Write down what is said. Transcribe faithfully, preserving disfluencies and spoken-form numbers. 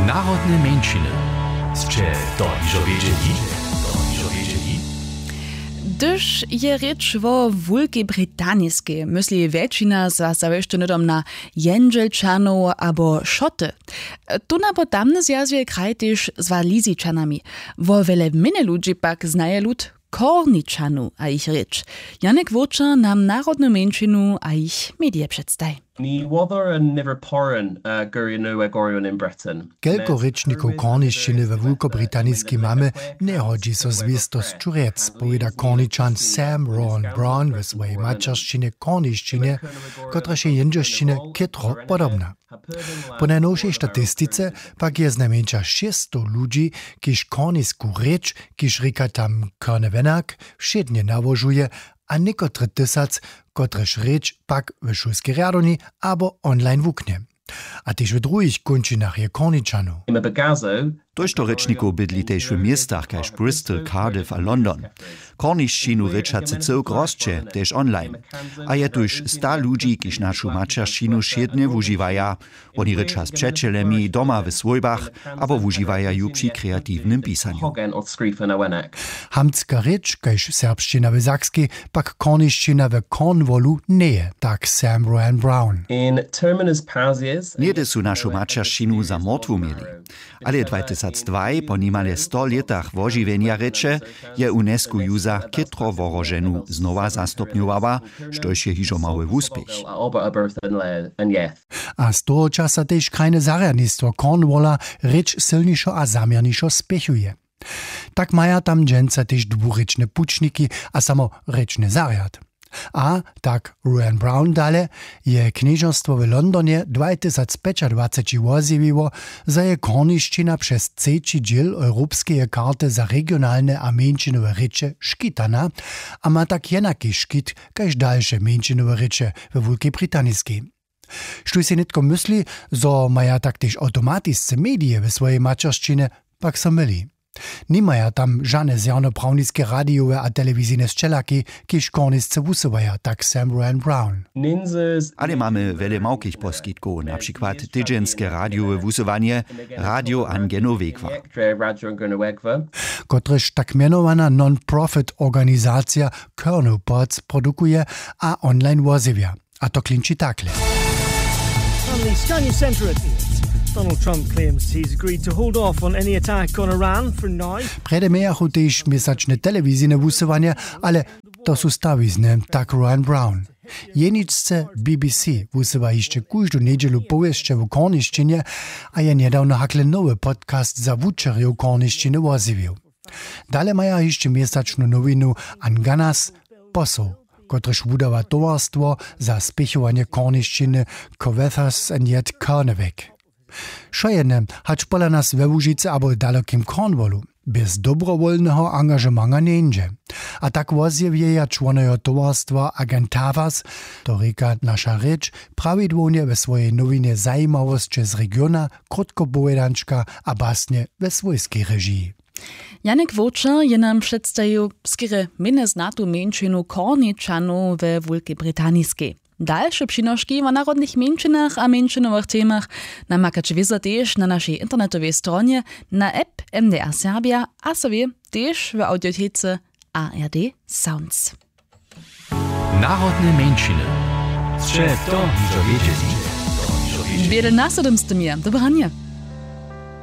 Narodne mjeńšiny. Sće to hižo wědźeli? To hižo wědźeli? Hdyž je rěč wo Wulkej Britaniskej, mysli wjetšina z was zawěsće hnydom na Jendźelčanow abo Šoty. Tón abo tamny zwjazuje kraj tež z Walizičanami. Wo wjele mjenje ludźi pak znaje lud Korničanow a jich rěč. Janek Wurčer nam narodnu mjeńšinu a jich medije předstaji. Ni wother an niver poren, uh, gurjenowe gorjon in Breton. Kelko rěčnikow kornišćiny we Wulkobritaniskej mamy, njehodźi so zwěstosću rjec, powěda Korničan Sam Rowan Brown we swojej maćeršćinje kornišćinje, kotraž je jendźelšćinje chětro podobna. Po najnowšej statistice pak je znajmjeńša šěsćstow ludźi, kiž kornisku rěč, kiž rěka tam Kornewenak, wšědnje nałožuje, a někotre tysac, kotrež rěč pak w šulskej rjadowni abo online wuknje. A tež w druhich kónčinach je Korničanow. Tójšto rěčnikow bydli tež w městach kaž Bristol, Cardiff a London. Kornišćinu rěčacy cyłk rosće tež online. A je tuž sta ludźi, kiž našu maćeršćinu wšědnje wužiwaja. Woni rěča z přećelemi doma w swójbach abo wužiwaja ju při kreatiwnym pisanju. Hamtska rěč kaž serbšćina w Sakskej, pak kornišćina w Cornwallu njeje, tak Sam Rowan Brown. Něhdy su našu maćeršćinu za mortwu měli. Ale dwatysacdwaj, po nimale sto lětach wožiwjenja rěče, je UNESCO juza chětro wohroženu znowa zastupnjowała, štož je hižo mały wuspěch. A z toho časa tež krajne zarjadnistwo Cornwalla rěč sylnišo a zaměrnišo spěchuje. Tak maja tam dźensa tež dwurěčne pućniki a samo rěčny zarjad. A tak Rowan Brown dale, je knježerstwo w Londonje dwatysacpjećadwaceći wozjewiło, zo je kornišćina přez třeći dźěl europskeje karty za regionalne a mjeńšinowe rěče škitana a ma tak jenaki škit kaž dalše mjeńšinowe rěče we Wulkej Britaniskej. Štóž sej nětko mysli, zo maja tak tež awtomatisce medije we swojej maćeršćinje, pak so myli. Nimaja tam žane zjawnoprawnistke radijowe a telewizijne sćelaki, kiž kornisce wusyłaja, tak Sam Rowan Brown. Ale mamy wjele małkich poskitkow, na přikład tydźenske radijowe wusyłanje, Radio Angenowegwa, kotrež tak mjenowana non-profit organizacija Kernel Pods produkuje a online wozjewja. A to klinči takle. From the Sky News Centre at Donald Trump claims he's agreed to hold off on any attack on Iran for now. Prjedy mějachu tež měsačne telewizijne wusyłanje, ale to su stawizny, tak Rowan Brown. Jeničce B B C wusyła hišće kóždu njedźelu powěsće w kornišćinje a je njedawno hakle nowy podcast za wučerjow kornišćiny wozjewił. Dale maja hišće měsačnu nowinu Anganas Posoł, kotryž wudawa towarstwo za spěchowanje kornišćiny Covethar's and yet Carnivik. Wšojedne, hač pola nas we Łužicy abo w dalekim Cornwallu, bjez dobrowolneho angažemanga njeńdźe. A tak wozjewjeja čłonojo towarstwa Agentavas, to rěka naša rěč, prawidłownje we swojej nowinje zajimawosće z regiona, krótkopowědančka a basnje we swójskej režiji. Janek Wowčer je nam předstajił skerje mjenje znatu mjeńšinu Korničanow we Wulkej Britaniskej. Dalše přinoški wo narodnych mjeńšinach a mjeńšinowych temach namakaće wězo tež na našej internetowej stronje, na app M D R Serbia a so wě tež w audiotece A R D Sounds. Narodne mjeńšiny. Sće to hižo wědźeli? Wjele na sodom z tym je. Dobre ranje.